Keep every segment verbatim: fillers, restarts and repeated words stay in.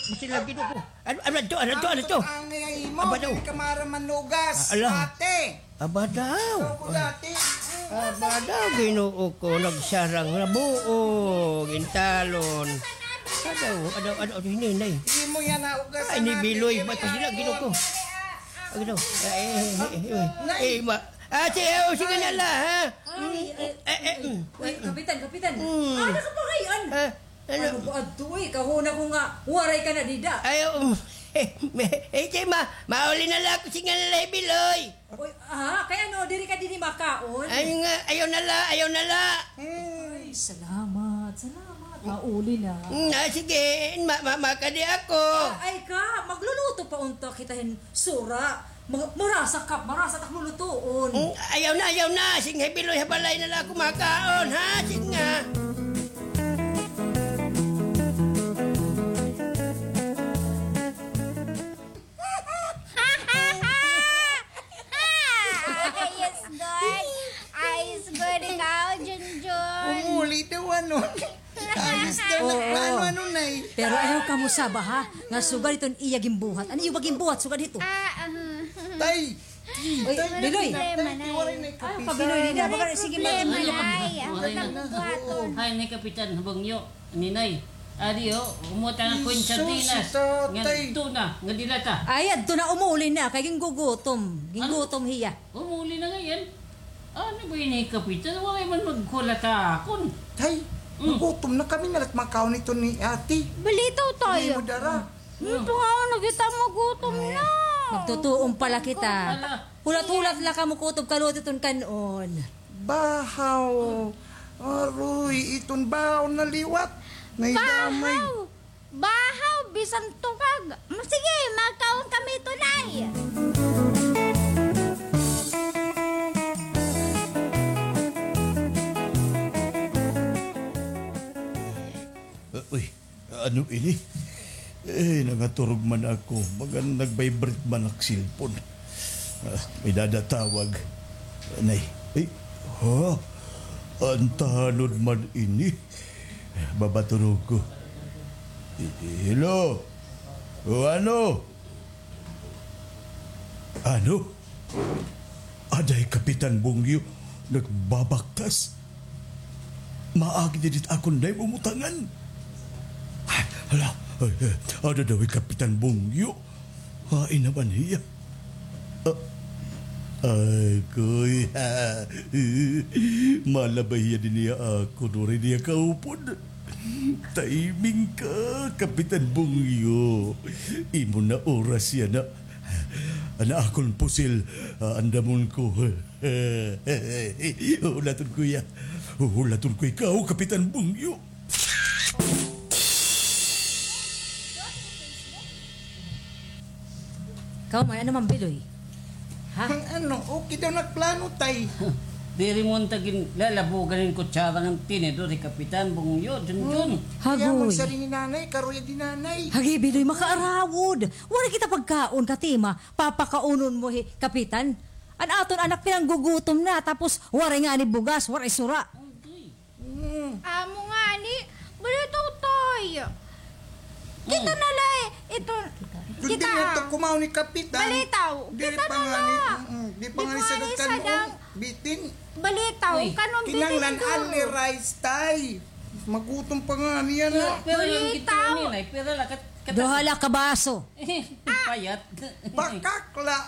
Sila, Ginoo ko. Ano, ano to? Ano to? Ano to? Ang imo, Aba daw. Kay kamara manugas, Ah, ala. Ate. Aba daw. Ikaw ko dati. Aba daw, Ginoo ko, nagsarang na buo, gintalon. Adaw, adaw, adaw, adaw, hinay, hinay. Imo yan, naugas Ay, ni Biloy, ba't sila, Ginoo ko? Ay, Ginoo. Ay, eh, eh, eh, eh, eh, ma-, Ate, oh, sige na la, ha? Ay, ay, Eh, eh, mm. Uy, Kapitan, Kapitan. Mm. Ano ka pa ngayon? Ah, ano? Ano ba adto, uy? Kahuna ko nga, waray ka na dida. Ay, um, eh, eh, eh, ma, mauli na la ako, sige na la, Biloy. Uy, ha? Kay ano, diri ka dinhi makaon? Ay nga, ayaw na la, ayaw na la. Ay, salamat, salamat. Mauli na. Mm, ah, sige, ma, ma, makadi ako. Ah, ay ka, magluluto pa unta kita hin sura. Ma, marasa ka, marasa tak lulutuon. Mm, ayaw na, ayaw na. Sige, Biloy, ha balay na la ako makaon, ha? Sige nga. Ayos gud. Ayos gud ikaw, Junjun. Umuli daw, ano? Ayos daw, Oo. Ano, ano, Nay? Pero ayaw kamo saba, ha? Nga sugad iton iya ginbuhat. Ano iyo ba ginbuhat? Sugad hito. Ah, ah. Tay! Uy, Tay, Biloy. Tay, Tay, waray na Ay, kapisan. Kabiloy, Dida. Baka sige, Problema, Nay. Ako na bubuhaton. Ay, ni Kapitan Bungyo. Ninay, adi, oh, kumuha ta nga kuwan sardinas, Jesus, si tatay. Nga tuna, nga dilata. Ay, adto na, umuli na, kay gingugutom. Gingutom hiya. Umuli na ngay-an? Ano ba ini, Kapitan? Wala man magkulat akon. Tay, Mm. Gutom na kami, nalat makaon ito ni ate. Balitaw tayo. Hindi mo dara. Ano pa nga, nagita mo, gutom na. Magtutuon pala kita. Ala. Hulat-hulat la kamo kutob kaluto iton kan-on. Bahaw. Aroy, iton bahaw na liwat. Naidamay. Bahaw! Bahaw, bisan tukag. Mm, sige, makaon kami tunay. Uh, uy, Ano ini? Eh, nangaturog man ako. Baga nag-vibrate man ak cellphone. Ah, may dadatawag. Nay, eh, ha? An tanod man ini. Babaturog ko. Hello? O ano? Ano? Aday, Kapitan Bungyo, nagbabaktas. Maagi didi it akon, Nay, umutangan. Ay, hala, ay, ay, ada daw hi Kapitan Bungyo. Hain na man hiya? Ah, ay, kuya. Malabay hiya dinhi ha akon, waray niya kaupod. Timing ka, Kapitan Bungyo. Imo na oras yana. An akon pusil, ah, andamon ko. Hulaton ko hiya. Hulaton ko ikaw, Kapitan Bungyo. Ikaw man, ano man, Biloy? Ha? Ang ano, okay daw nagplano, tay. Diri mo unta ginlalabugan hin kutsara ngan tinidor hi Kapitan Bungyo, Junjun. Hmm. Kaya Hagoy. Magsaring ni nanay, karuya di nanay. Hagi, Biloy, makaarawod. Waray kita pagkaon, katima, papakaunon mo hi Kapitan. An aton anak pinanggugutom na, tapos waray ngani bugas, waray sura. Mm. Amo ngani, balitaw, tay. Kita na la, eh, ito, kita, diri na to kumaon ni Kapitan. Balitaw, diri kita pa na ngani, la. Mm-mm, di pa ngani sagad kan-on, bitin. Balitaw, uy, kan-on bitin kinahanglan ito. Only rice, tay. Magutom pa ngani yana. Pira la kita ngani, nay? Pira la kat-, kat-, duha la ka baso. Payat. Bakak la.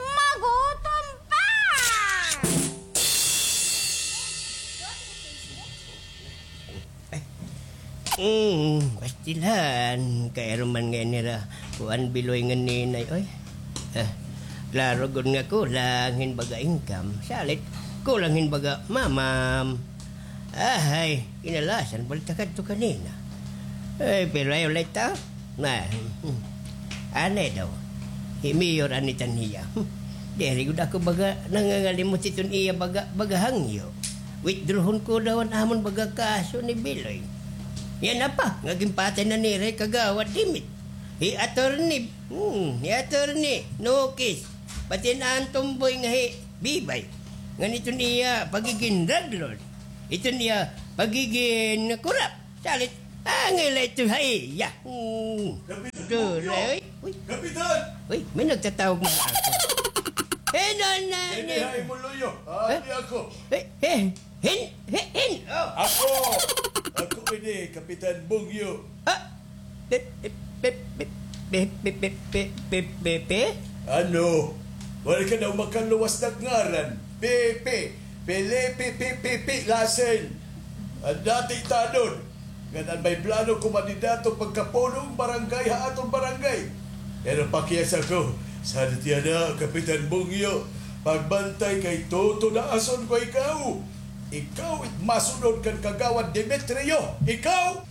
Magutom pa! Mm, pastilan. Kay aron man ngay-an hira kuan, Biloy ngan Ninay, oy. Ah, klaro gud nga kulang hin baga income. Salit, kulang hin baga mamam. Ahay, kinalasan pa la ta kadto kanina. Ay, pero ayaw la ito. Na, hmm. Anay daw. Hi Mayor anay tan hiya. Hmm. Diri gud ako baga nangangalimot hiton iya baga, baga hangyo. Withdrawhon ko daw an amon baga kaso ni Biloy. Yana pa, nga ginpatay na nira hi Kagawad Dimit. Hi Attorney, hmm, hi Attorney Nokis. Pati an tomboy nga hi Bibay. Ngan iton iya pagigin drug lord. Iton iya pagigin kurap. Salit, angay la ito ha iya. Hmm. Uy, uy. Kapitan! Uy, may nagtatawag na ako. Hino na ni? Hindi, ha, imo luyo. Ah, Eh? Di ako. Eh, eh, hin, hin, hin, oh. Ako! Ako ini, Kapitan Bungyo. Ah, pe, pe, pe? Ano? Wala ka daw makaluwas na ngaran. Pepe. Felipe Pepe Lasin. An dati tanod. Ngan an may plano kumandidato pagkapunong barangay ha aton barangay. Pero pakiasa ko, sa tiyan na, Kapitan Bungyo, pagbantay kay tutudaason ko ikaw. Ikaw it masunod kan Kagawad Demetrio. Ikaw!